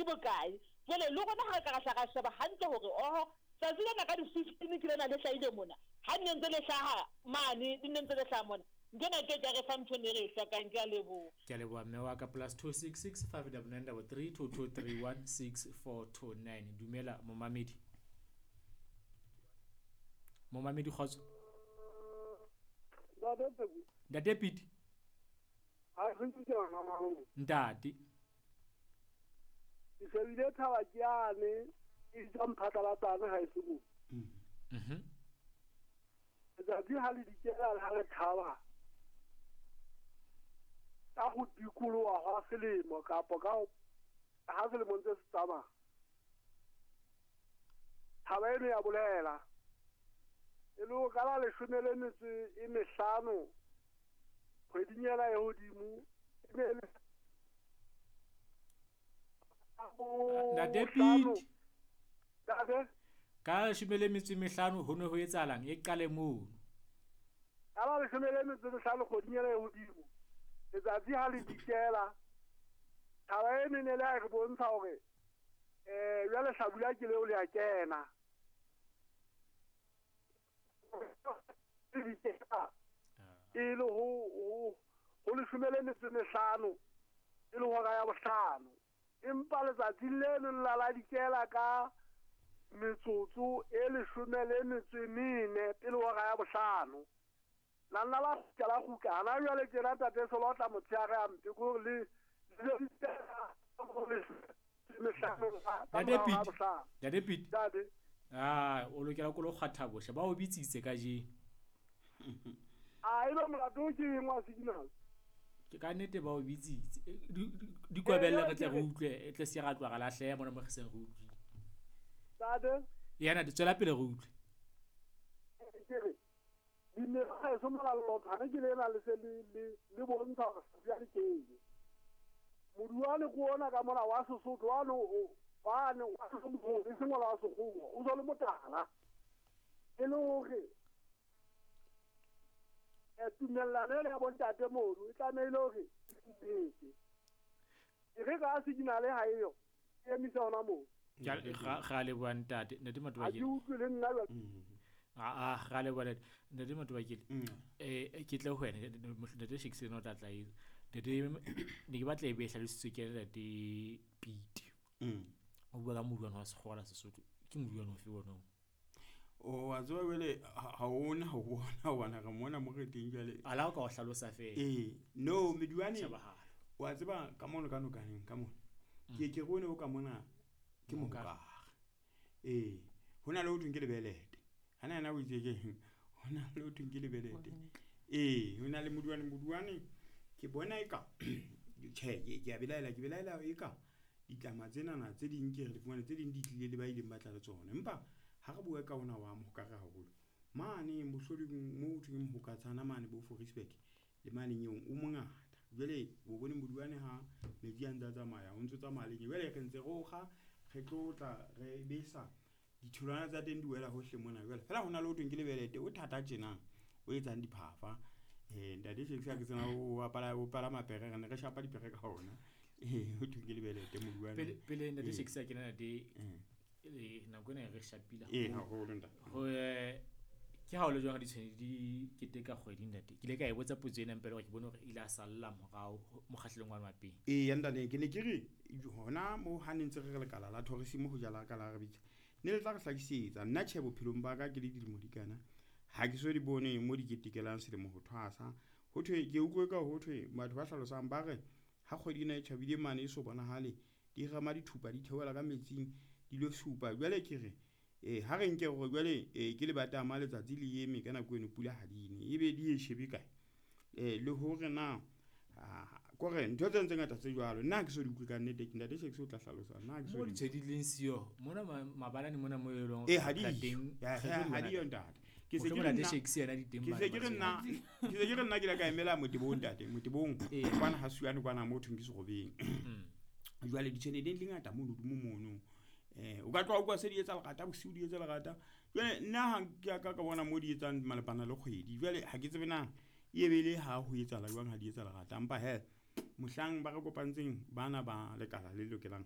bokae. Jwale le rona ha re ka ra hla ra sheba hantle hore oho tsatsi lena ka di-15 ke lena le hlahile mona, ha nne ntse le hlaha mane, le nne ntse le hlaha mona, ntho ena e ke ke ya re fa ntho e ne re e hlokang. Ke a leboha. Ke a leboha mme wa ka. +266 599 33 2231 6429. Dumela momamedi. Momamedi, kgotso. Ntate Pete. Ntate. Ke shebile thaba ke yane e tswa mphatlalatsane ha e se mo. Letsatsi ha le dikela ha le thaba ka go dikoloha hwa selemo kapa ka ha selemo ntse se tsamaya. Thaba eno ya bolela e le ho ka la 15 kgweding ena e hodimo e ne le Ntate Pete. Ntate. Ka 15 ho ne ho etsahalang e qale mono. Ka la 15 kgweding ena e hodimo letsatsi ha le dikela thaba eno e ne le a re bontsha hore jwale hlabula ke leo le a kena. E le ho 15 e le hora ya bohlano. Empa letsatsi leno la la dikela ka metsotso e 14 pele hora ya bohlano. La nna la kgutla la kgutla. Hana jwale tjena ntate Selo tla motshehare a mpe kore le Ntate Pete. Ntate Pete. Ntate. Ah, o lokela ko lo kgwatha bohle ba o bitsitse kajeno. A ebe molato ke eng wa signal? Ke ka nnete ba o bitsitse. Di kwebelle re tle re utlwe, e tle se ra tloha ra lahleha mona mo re seng re utlwile. Ntate. Yana di tswela pele re utlwe. Ke re dimela ha e so mola lothane ke lena le se le bontsha hore jwale ke eng. Moduwane ke ona ka mona wa Sesotho wane wane wa Sesotho e seng wa Sekgowa o so le motala. E le hore tumellano ele ya bontate mono e tlamehile hore e e re ka signal ha eyo e emisa hona moo. Ga leboha ntate. Ntate Matobakele. Ha ke utlwe le nna jwale. Ga leboha ntate Matobakele. Ke tle ho wena ntate Shakespeare o tla tla etsa. Ntate ne ke batla e be e hlalositswe ke ntate Pete. O bua ka moduwane wa Sekgowa la Sesotho. Ke moduwane ofe ona o? O wa tseba jwale ha ona ho bona hobane re mona mo re teng jwale. Ala o ka o hlalosa feela. No meduwane wa tseba ka mono ka nokaneng ka mona. Ke ke re o ka mona ke mokare. Ho na le ho thweng ke lebelete. Hana yena o itse ke ho na le ho thweng ke lebelete. Ho na le moduwane ke bona eka tjhe ke a belaela ke belaela eka ditlama tsenana tse ding ke re di fumane tse ding di tlile le ba ileng ba tla le tsona. Empa ha re bua ka ona wa mohokare haholo mane mohloding mo thweng mohokatshana mane bo Forisburg le mane nyong o mongata. Jwale o bone moduwane ha metsi a ntse a tsamaya o ntse tsamaya le jwale re ntse re okga re tlotla re besa ditholwana tsa teng di wela hohle mona. Jwale fela hona le ho thweng ke lebelete o thata tjena o etsang diphafa. Ntate Shakespeare ke tsena o apara o palama pere re ne re shapa dipere ka ona. Ho thweng ke lebelete moduwane. Pele ntate Shakespeare ke nana de nako ena re shapile haholo ntate. Ho ke ha o le jwang ditshwene di keteka kgwedi ntate. Ke ile ka e botsa potso ena mpele hore ke bone hore ile a salla morao mokgahlelong wa mapeng. Ntate ke ne ke re hona mo ha ne ntse re re lekala la tourism ho jala ka la re bitsa. Ne le tla re hlakisetsa nna tjhe bophelong ba ka ke le dilemo di kana. Ha ke so di bone mo di ketekelang selemo ho thwasa. Ho thwe ke utlwe ka ho thwe batho ba hlalosang ba re ha kgwedi ena e tjhabile mane e so bonahale di rema dithupa di theohela ka metsing di lo supa. Jwale ke re ha re nke hore jwale ke lebatama letsatsi le eme ka nako eno pula ha di ne ebe di e shebe kae. Le hore na kore ntho tse ntse ngata tse jwalo nna ke so di utlwe ka nnete ke ntate Shakespeare o tla hlalosa nna ke so mo di tshedi leng siyo mona mabalane mona mo e leng ha di teng ha di yo ntate ke se ke ntate Shakespeare yena di teng ke se ke re nna ke se ke re nna ke la ka emela motebong ntate motebong kwana ha suane kwana mo thweng ke serobeng. Jwale ditshwene di le ngata mono hodimo mono. O ka tloha o kwa se di etsa lerata bosiu di etsa lerata. Jwale nna ha ke ka bona mo di etsang malebana le kgwedi. Jwale ha ke tsebe na e be le ha ho etsahala jwang ha di etsa lerata. Empa he mohlang ba re kopantseng bana ba lekala le lokelang